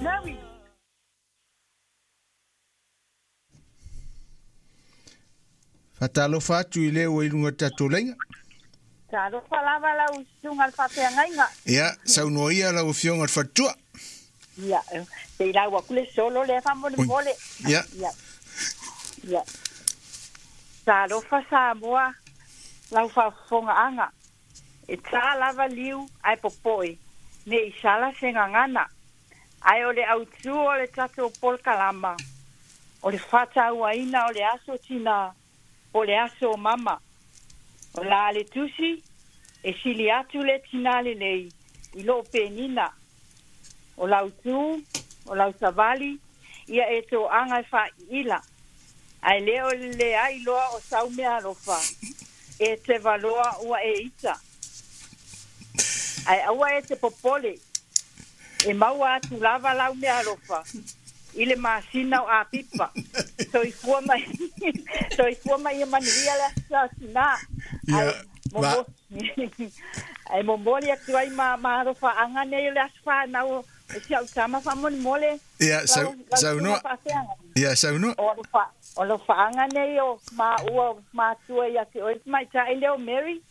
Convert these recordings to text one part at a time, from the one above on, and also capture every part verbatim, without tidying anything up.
Mary. Fatalofa atu i lea ua i luga o tatou laiga. Talofa lava lau susuga le faafeagaiga. Ia, saunoa lau afioga le faletua. Ia, te i lau aku le solo lea faamolemole. Ia. Ia. Ia. Talofa Samoa lau faafofogaaga. E tā lava liu ae popoe, ne i sala se gagana. Ae o le autū o le tatou polokalama, o le faatauaina o le aso tinā, o le aso o mama. O la le tusi, e sili atu le tinā lelei, i loo penina. O lau tū, o lau savali, ia e toaga e faaiila. Ae le o le leai loa o sau meaalofa, e te valoa ua e ita. Ae aua e te popole, e maua atu lava lau meaalofa, i le masina o Apipa. Soifua mai, soifua mai ia manuia le aso tinā. Ia, ma... Ae momoli atu ai ma maalofaaga nei o le aso fanau o si au tama faamolemole. Ia, sau, saunoa. Ia, saunoa. O alofa, o alofaaga nei o maua o matua ia te oe tamaitai lea o Mary.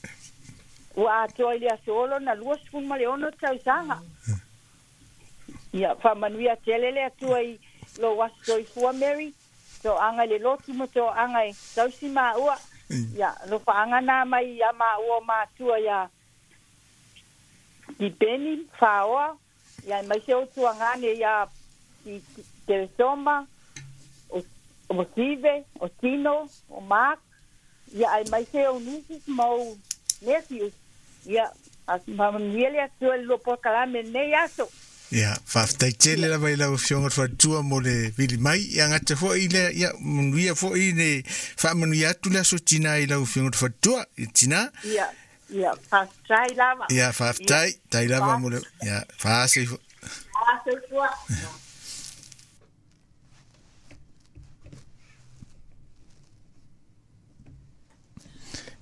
Ua atoa i le aso olo na luasefulu ma le ono tausaga. Ia, faamanuia tele le Atua i lou aso soifua Mary. Toaga i le lotu ma toaga e tausi maua. Ia, alofaaga na mai ia maua o matua ia Tipeni, Faoa, ia mai se o tuagane ia Teresoma, o, o Sive, o Tino, o Mark, ia ai mai se o nieces ma o nephews. Ia, faamanuia le Atua i le lua polokalame lenei aso. Ia, faafetai tele lava i lau afioga le faletua mo le vili mai. Ia gata fo'i lea, ia manuia fo'i le faamanuia atu le aso tinā i lau afioga le faletua. Ia tinā. Ia, ia, faafetai lava. Ia, faafetai, tai lava mo le, ia, faase ifo. Faase ifo.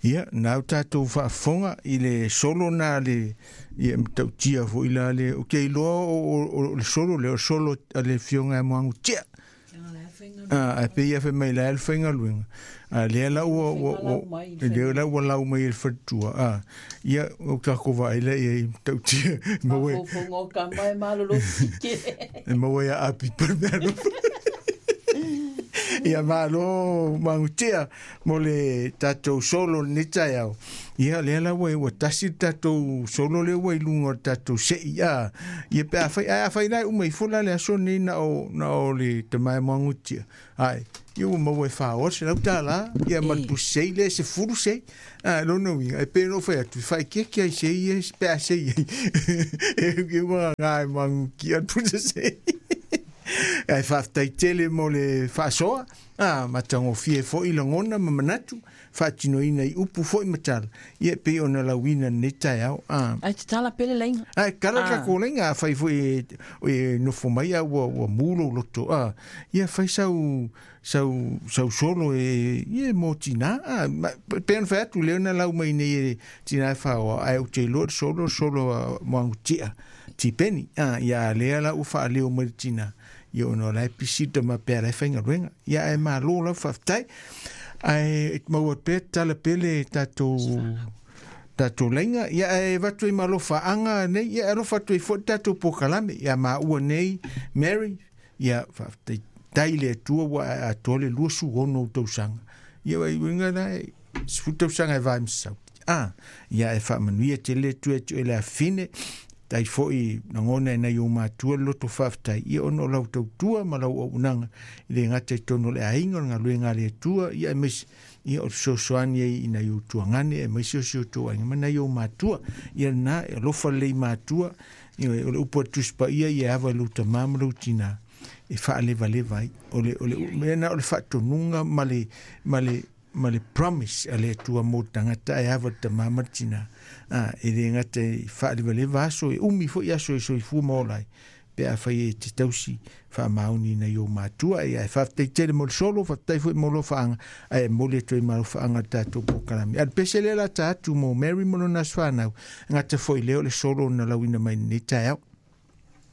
Ia, nau tatou faafofoga i le solo na le, ia matautia fo'i la le, o ke iloa o, o, o le solo lea, o solo a le afioga e Moagutia. Ah, ae pei ia fai mai la e le faigaluega. A lea la ua, ua, ua, lea la ua lau mai e le faletua. Ah, ia, o takou vaai lea ia i matautia. Maua e maua ia apipa le meaalofa. Ia malo Magutia mo le tatou solo lenei taeao. Ia lea la ua ua tasi le tatou solo lea ua i luga o le tatou sei. Ah, ia pe a fai, ae a fai la e uma ifo la le aso nei na o, na o le tamae Moagutia. Ai, ia ua maua e fāoa se lau tālā, ia ma le pusi sei lea se fulu sei. Ah, lona uiga, e pei ona ou fai atu, faakeke ai sei e pe a sei ai. E ua gagā e Moagutia le pusa sei. Ae faafetai tele mo le faasoa, ah, matagofie fo'i lagona ma manatu, faatinoina i upu fo'i ma tala. Ia pei ona lauina lenei taeao. Ah. Ai te tala pele laiga. Ai kala Ah. takou laiga, afai fo'i e, e nofo mai a ua, ua mū lou loto. Ah, ia fai sau, sau, sau solo e, ia mo tinā. Ah, ma, pe ona fai atu lea na lau mai nei e tinā e whaoa, ai o te iloa le solo, solo a Moagutia, Tipeni. Ah, ia lea la ua faaleo mai le tinā. Ia ona o la e pisita ma pea la e faigaluega. Ia ae malo lau faafetai. Ae e maua pea tala pele tatou tatou laiga. Ia ae avatu ai ma alofaaga nei, ia alofa atu ai fo'i tatou polokalame. Ia maua nei Mary, ia faafetai tai le Atua ua ae atoa le luasefulu ono tausaga. Ia ai uiga la e sefulu tausaga e vae ma sauti. Ah, ia e faamanuia tele atu e tu e le afine. Tai fo'i lagona e nai o matua le loto faafetai. Ia ona o lau tautua ma lau auaunaga i le gata i totonu o le aiga o le galuega a le Atua. Ia aemaise, ia o le fesoasoani ai i nai ou tuagane, aemaise o si o outou aiga ma nai ou matua. Ia lena, e alofa lelei matua. Ia, o le upu a le Tusi Paia, ia e ava i lou tamā ma lou tinā e faalevaleva ai. O le, o le mea na o le faatonuga ma le, ma le, ma le promise a le Atua mo le tagata e ava le tamā ma le tinā. Ah, e le gata e faalevaleva aso, e umi fo'i aso e soifua ma ola ai. Pe a fai e te tausi faamaoni nai o matua. Ia e faafetai tele mo le solo, faafetai fo'i mo alofaaga, ae momoli atu ai ma alofaaga le tatou polokalame. A le pese lea la ta atu mo Mary mo lona aso fanau, gata fo'i lea o le solo na lauina mai lenei taeao.